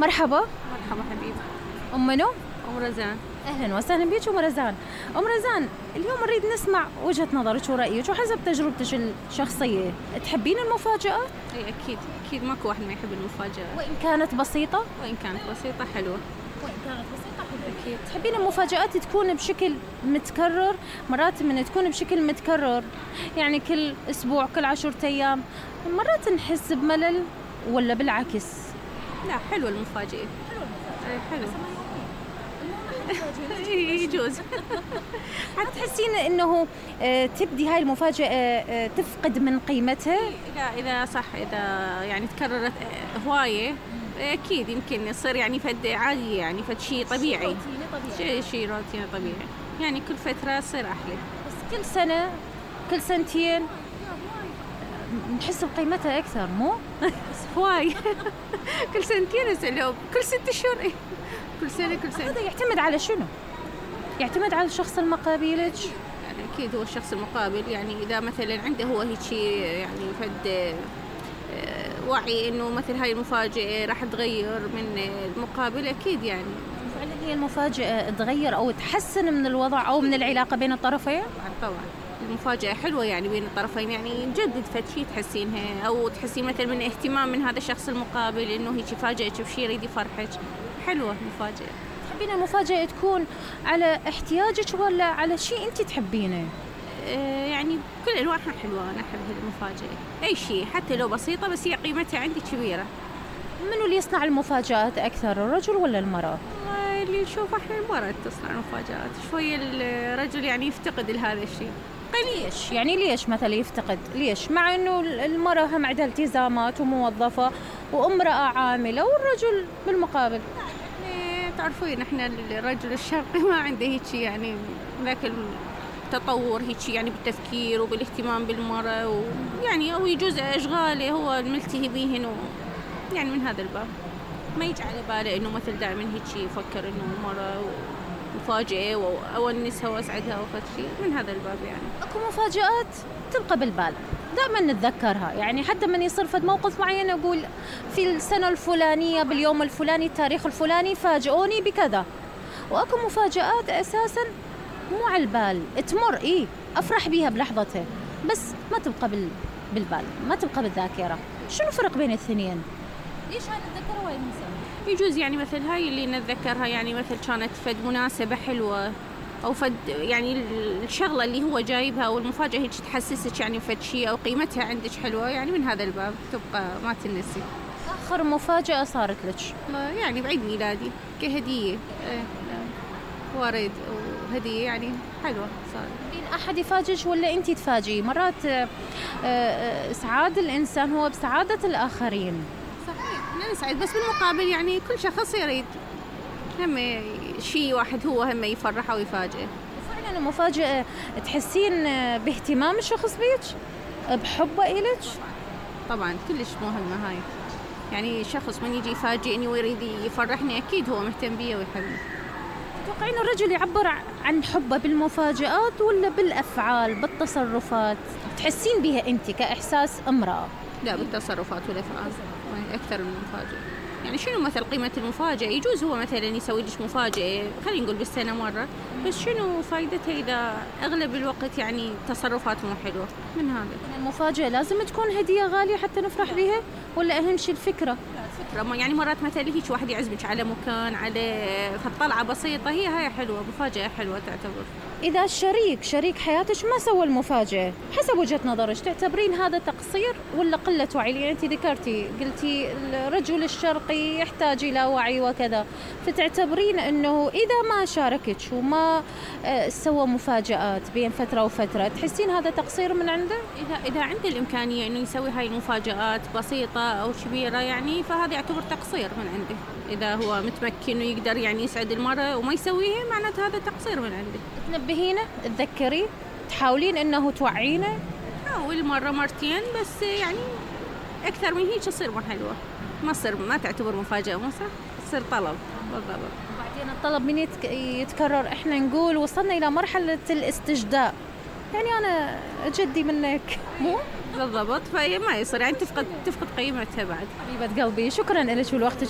مرحبا. مرحبا حبيبي. أم منو؟ أم رزان. أهلا وسهلا بيك أم رزان. أم رزان، اليوم نريد نسمع وجهة نظرك ورأيك وحسب تجربتك الشخصية، تحبين المفاجآت؟ أي أكيد ماكو واحد ما يحب المفاجآت. وإن كانت بسيطة؟ وإن كانت بسيطة حلوة. وإن كانت بسيطة حلوة. أكيد. تحبين المفاجآت تكون بشكل متكرر؟ مرات من تكون بشكل متكرر يعني كل أسبوع كل 10 أيام، مرات نحس بملل ولا بالعكس؟ لا حلوة المفاجأة. حلو. يجوز. تحسين إنه تبدي هاي المفاجأة تفقد من قيمتها؟ إذا صح، إذا يعني تكررت هواية أكيد يمكن يصير يعني فد عادي، يعني فد شيء طبيعي. شيء روتيني طبيعي، يعني كل فترة يصير أحلى. بس كل سنة كل سنتين نحس بقيمتها أكثر، مو؟ هواي. كل سنتين أسألهم، كل 6 أشهر. كل سنة. هذا يعتمد على شنو؟ يعتمد على الشخص المقابلك. يعني أكيد هو الشخص المقابل، يعني إذا مثلا عنده هو هيك يعني فد وعي إنه مثل هاي المفاجأة راح تغير من المقابل، أكيد يعني. فعلا هي المفاجأة تغير أو تحسن من الوضع أو من العلاقة بين الطرفين؟ طبعا المفاجأة حلوة يعني بين الطرفين، يعني نجدد فد شيء تحسينها، أو تحسين مثلا من اهتمام من هذا الشخص المقابل إنه هيك يفاجئك بشيء يريد يفرحك. حلوة المفاجأة. تحبين المفاجأة تكون على احتياجك ولا على شيء أنت تحبينه؟ يعني كل أنواعها حلوة، أنا أحب المفاجأة أي شيء حتى لو بسيطة بس هي قيمتها عندي كبيرة. منو اللي يصنع المفاجآت أكثر، الرجل ولا المرأة؟ اللي نشوف احنا المرأة تصنع المفاجآت، شوية الرجل يعني يفتقد لهذا الشيء. ليش؟ يعني ليش مثلا يفتقد؟ ليش؟ مع إنه المرأة هم عندها التزامات وموظفة وامرأة عاملة والرجل بالمقابل. تعرفين احنا الرجل الشرقي ما عنده هيك يعني ذاك التطور هيك يعني بالتفكير وبالاهتمام بالمرأة، ويعني او يجوز اشغاله هو الملتهي بيهن، يعني من هذا الباب ما يجي على باله انه مثل دائما هيك يفكر انه المرأة مفاجئة وأونسها وأسعدها وفد شيء من هذا الباب. يعني اكو مفاجآت تبقى بالبال دائما نتذكرها، يعني حتى من يصير فد موقف معين أقول في السنة الفلانية باليوم الفلاني التاريخ الفلاني فاجئوني بكذا، وأكو مفاجآت أساسا مو على البال تمر أفرح بيها بلحظتها بس ما تبقى بالبال، ما تبقى بالذاكرة. شنو الفرق بين الاثنين؟ ليش هاي نتذكرها وين ننساها؟ يجوز يعني مثل هاي اللي نتذكرها يعني مثل كانت فد مناسبة حلوة أو فد يعني الشغلة اللي هو جايبها والمفاجأة هيك تحسسك يعني فد شيء أو قيمتها عندك حلوة، يعني من هذا الباب تبقى ما تنسي. آخر مفاجأة صارت لك؟ يعني بعيد ميلادي كهدية. وارد وهدية يعني حلوة صار. بين أحد يفاجئك ولا أنت تفاجئي؟ مرات إسعاد الإنسان هو بسعادة الآخرين. صحيح أنا نسعد بس بالمقابل يعني كل شخص يريد هم شيء واحد هو هم يفرحه ويفاجئه. فعلا المفاجأة تحسين باهتمام الشخص بيك بحبه إلك؟ طبعا كلش مهمة هاي، يعني شخص من يجي يفاجئني ويريد يفرحني أكيد هو مهتم بي ويحبني. تتوقعين الرجل يعبر عن حبه بالمفاجآت ولا بالأفعال بالتصرفات؟ تحسين بها أنت كإحساس امرأة؟ لا بالتصرفات والأفعال أكثر من المفاجأة. يعني شنو مثل قيمة المفاجأة؟ يجوز هو مثلا يسوي لك مفاجأة خلينا نقول بالسنة مرة، بس شنو فايدتها إذا أغلب الوقت يعني تصرفات مو حلوة؟ من هذا المفاجأة لازم تكون هدية غالية حتى نفرح بها ولا أهم شيء الفكرة؟ فكرة يعني مرات مثلا هيك واحد يعزمك على مكان على طلعة بسيطة هاي حلوة، مفاجأة حلوة تعتبر. إذا شريك حياتك ما سوى المفاجأة حسب وجهة نظرك تعتبرين هذا تقصير ولا قلة وعي؟ لأن أنت قلتي الرجل الشرقي يحتاج إلى وعي وكذا، فتعتبرين أنه إذا ما شاركك وما سوى مفاجآت بين فترة وفترة تحسين هذا تقصير من عنده؟ إذا عنده الإمكانية أنه يسوي هاي المفاجآت بسيطة أو كبيرة يعني فهذا يعتبر تقصير من عنده. إذا هو متمكن ويقدر يعني يسعد المرأة وما يسويها معناته هذا تقصير من عنده. تنبهينه تذكري تحاولين أنه توعينه؟ حاول مرة مرتين بس يعني أكثر من هيك تصير ما حلوة، ما تعتبر مفاجأة، ما تصير طلب بالضبط. وبعدين الطلب من يتكرر احنا نقول وصلنا إلى مرحلة الاستجداء، يعني أنا جدي منك مو بالضبط، فما يصير يعني تفقد قيمتها بعد. حبيبة قلبي شكرا لك ولوقتك